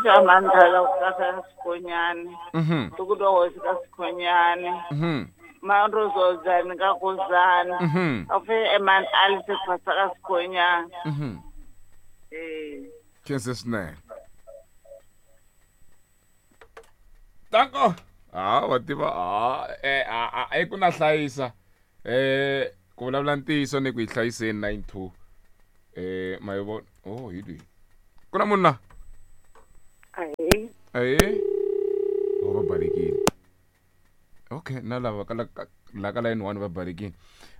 pfuxa mandlala ku kasa Sikhonyane. Tuku twa hosi ka Sikhonyane. Manrozozani ka Kuzana. A pfuxa Eman Alice Phasa ka Sikhonyane. Eh. Khense swinene. Tanko. Ah, wa tiva ah eh ah ah ku na hlayisa. Eh ku vulavula ntiyiso ni ku yi hlayiseni 92. Eh ma yi vona. Oh, hi lweyi. Ku na munhu la? Ahee. Ahee. Oh, va balekile. Okay, na lava ka la ka line 1 va balekile.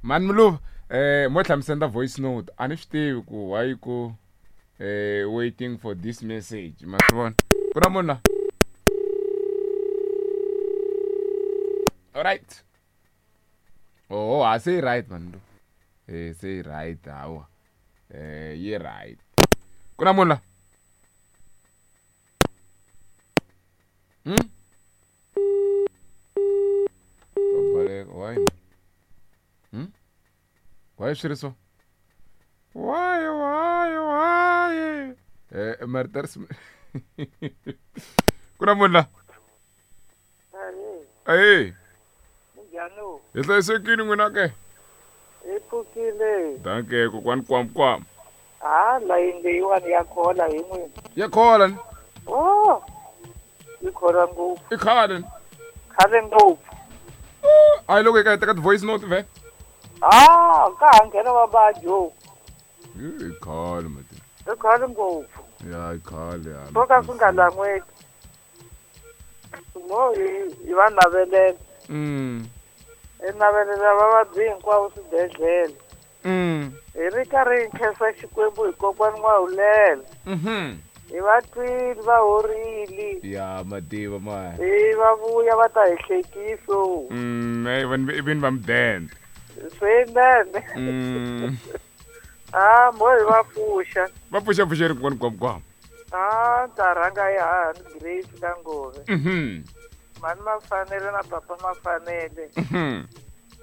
Mani Muluva, eh mo tlhela mi senda voice note. A ni swi tivi ku why ku eh waiting for this message. Ma swi vona? Ku na munhu la? All right. Oh, a se right man. Eh se right hawa. Eh yi right. Ku na munhu la? Va baleka. Why? Why swi ri so? Why? Eh marito ri Ku na munhu la? Ahee. Minjhani? Hi hlayisekile n'wina ke? Hi pfukile. Danke kokwani kwam kwam. Ha layini leyiwani ya khola hi n'wina. Ya khola ni. Oh. Yi khola ngopfu. I khale ni. Khale ngopfu. A yi loko yi ka yi teka ti-voice note ve? Ah, ka ha nghena vavabyi. I khale mati. I khale ngopfu. Ya i khale ya. Swo ka swi nga lan'weki. Mo hi va navelela. Hi navelela vavabyi hinkwavo swibedhlele. Hi ri karhi hi khensa Xikwembu hi kokwani N'wahulela. Hi va twile va horile. Ya mativa ma. Hi va vuya va ta hi hlekiso. Eh vanhu i vini va mudende. Swinene. Ah, mo hi va pfuxa. Va pfuxa pfuxeri kokwani kwam kwam. Ah, ta rhanga hi hahani Grace ka Ngove. Mhani Mafanele na papa Mafanele.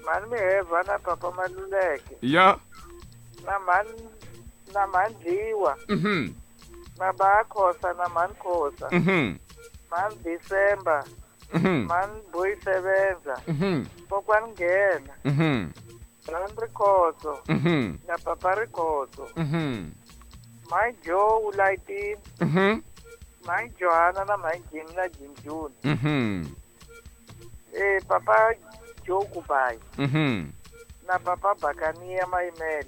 Mhani Miheva na papa Maluleke. Ya. Na mhani na mhani Dliwa. Na ba Khosa na mhani Khosa. Mhani December. Mhani Boy Sebenza. Kokwani Nghena. Mhani Rikhotso. Na papa Rikhotso. Mhani Joe u layitini. Mhani Johanna na mhani Jimmy na Jim June. Eh papa Joe Kubayi. Na papa Bakania Mayimele.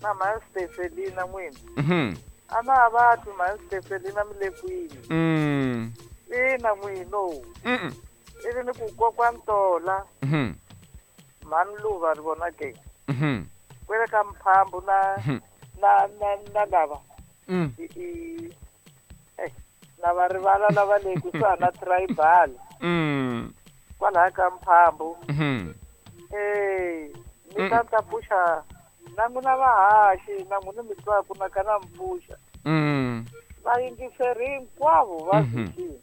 Na mhani Stefelina n'wini. A na ha va twi mhani Stefelina mi le kwini. Ina n'wino. Ivi ni ku kokwani Tola. Mhani Luva ri vona ke. Kwele ka Mphambu na na na na lava. I na va rivala lava le kusuhana na tribal. Kwalaha ka Mphambu. Eh ni ta ta pfuxa na n'wina vahaxi na n'wina mi twaku na ka na mi pfuxa. Vayingiseri hinkwavo va vhikini.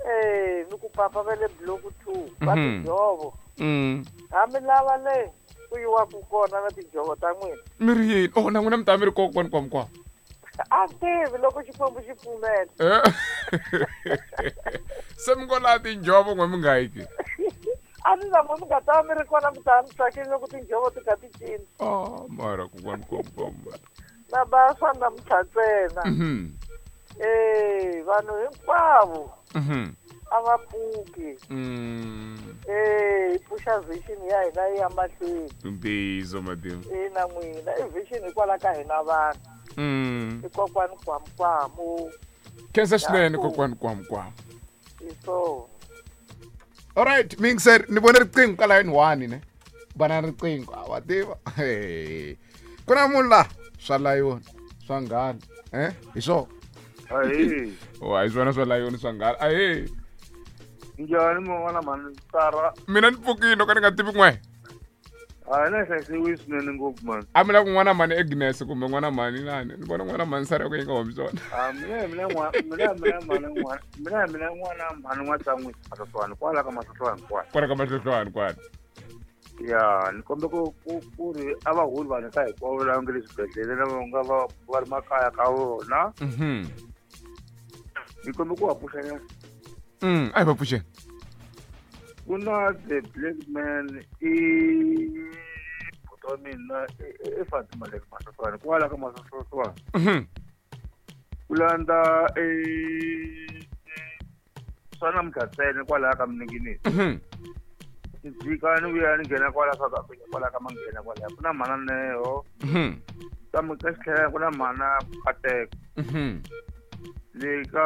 Eh ni ku papa va le block 2 va tinjhovo. Hambi lava le ku yiwaku kona na tinjhovo ta n'wina. Mi ri yini? Oh na n'wina mi ta mi ri kokwani kwam kwam. A tivi loko Xikwembu xi pfumela. Se mi ngo laha tinjhovo n'we mi nga yi ke? A ni na n'we mi nga ta mi ri kona mi ta mi tsakile loko tinjhovo ti kha ti cina. Oh mara kokwani kwam kwam. Na ba swa namuntlha ntsena. Eh vanhu hinkwavo. A va pfuki. Eh hi pfuxa vision ya hina yi ya mahlweni. Ntiyiso matimu. Ina n'wina i vision hikwalaho ka hina vanhu. I kokwani kwam kwamu. Khensa swinene kokwani kwam kwam. Hi swona. All right, mixer ni vone riqingho ka line 1 ne. Bana riqingho a wa tiva. Ku na munhu la swa layoni swa nghala. Eh, hi swona. Ahee. Oh, hi swona swa layoni swa nghala. Ahee. Njhani man'wana mhani Sara? Mina ni pfukile no ka ni nga tivi n'we. Hayi na hlayisiwi swinene ngopfu mani. A mi la ku n'wana mhani Agnes kumbe n'wana mhani nani? Ni vona n'wana mhani Sara ku yi nga humi swona. Ah, mina mina n'wana mina mina mhani n'wana mina mina n'wana mhani n'watsan'wi Mahlohlwani kwala ka Mahlohlwani kwala. Kwala ka Mahlohlwani kwala. Ya ni kombe ku ku ku ri a va holi vanhu ka hinkwavo lava nga le swibedhlele lava nga va va ri makaya ka vona. Ni kombe ku va pfuxanyana. A hi va pfuxeni. Ku na the black man i buti wa mina i Fatima le Masohlwane kwala ka Masohlwane. Ku landza swa namuntlha ntsena kwalaya ka Minengineni. Ni jika ni vuya ni nghena kwala South Africa kwala ka Manghena kwalaya ku na mhana Neo. Kambe ka xitlhela ku na mhana Kateko. Le ka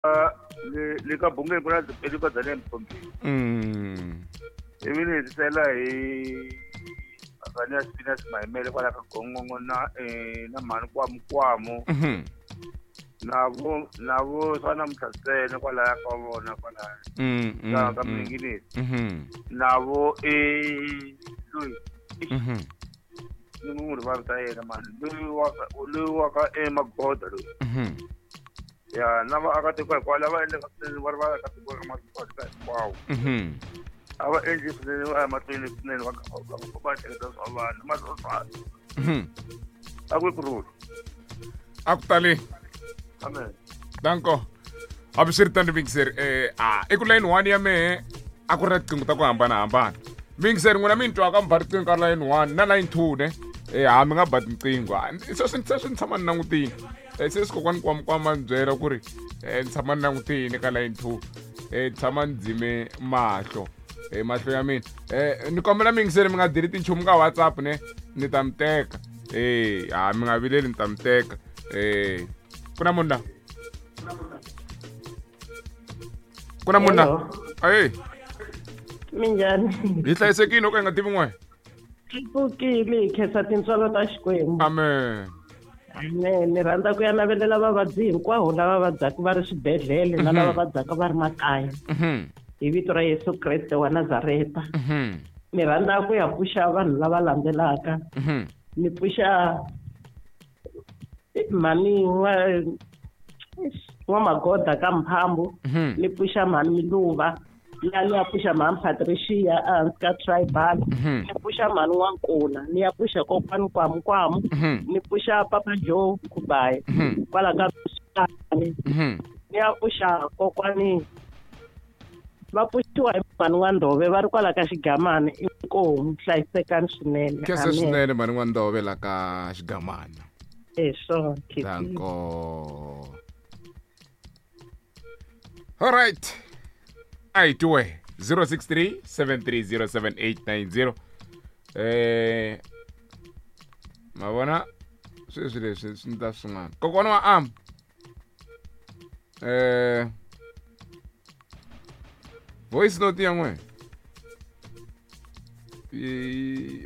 le ka Bungeni ku na Dzipeli ka Dzane Mthombeni. Ivi ni hetisela hi Azania Spinach Mahimele kwala ka Gongongo na na mhani Kwamu. Navo swa namuntlha ntsena kwalaya ka vona kwalaya. Ka Minengineni. Navo loyi. Ni n'wi rivala ta yena mani loyi wa ka Magoda loyi. Ya na vaakatiko hinkwavo lava endlaka swinene va ri vaakatiko ka matiko hinkwawo. A va endli swinene va ya mahlweni swinene va va ehleketa swa vanhu masoswana. A ku kurhula. A ku tali. Amen. Danko. Hambiswiritano Mixer i ku line 1 ya mehe a ku ri na tiqingho ta ku hambanahambana. Mixer n'wina mi ni twaka mi ba riqingho ka line 1 na line 2 ne. Ha mi nga ba tinqingho. Se ni tshama ni langutile. Se swi kokwani kwamakwama ni byela ku ri ni tshama ni langutile ka line 2. Ni tshama ni dzime mahlo. Mahlo ya mina. Ni kombela Mixer mi nga delete nchumu ka WhatsApp ne ni ta mi teka. Mi nga vileli ni ta mi teka. Ku na munhu la? Ku na munhu la? Minjhani? Hi hlayisekile loko hi nga tivi n'we. Hi pfukile hi khensa tintswalo ta Xikwembu. Amen. Amen. Ni rhandza ku ya navelela vavabyi hinkwavo lava vabyaka va ri swibedhlele na lava vabyaka va ri makaya. Hi vito ra Yesu Kreste wa Nazareta. Ni rhandza ku ya pfuxa vanhu lava landzelaka. Ni pfuxa mhani wa Magoda ka Mphambu. Ni pfuxa mhani Miluva. Ya ni ya pfuxa mhani Patricia ehansi ka Tribal. Ni pfuxa mhani N'wankuna. Ni ya pfuxa kokwani Kwamukwamu. Ni pfuxa Papa Joe Kubayi. Kwala ka Ni ya pfuxa kokwani va pfuxiwa hi mhani N'wandove va ri kwala ka Xigamana. Inkomu hlayisekani swinene. Khensa swinene mhani N'wandove la ka Xigamana. Swona. Danko. All right. I do 063 7307890. Mavona sweswi leswi swi ta swin'wana. Kokwana wa am. Voice note ya n'we.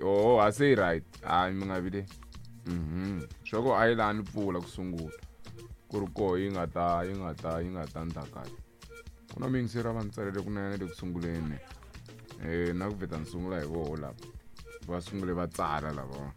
Oh, I say right. Mi nga vile. Swa ku a yi la ni pfula ku sungula. Ku ri koho yi nga ta ndla kahle. Ku na miyingiseri va ni tsalele kunene le ku sunguleni. Na ku vheta ni sungula hi voho lava. Va sungule va tsala lava.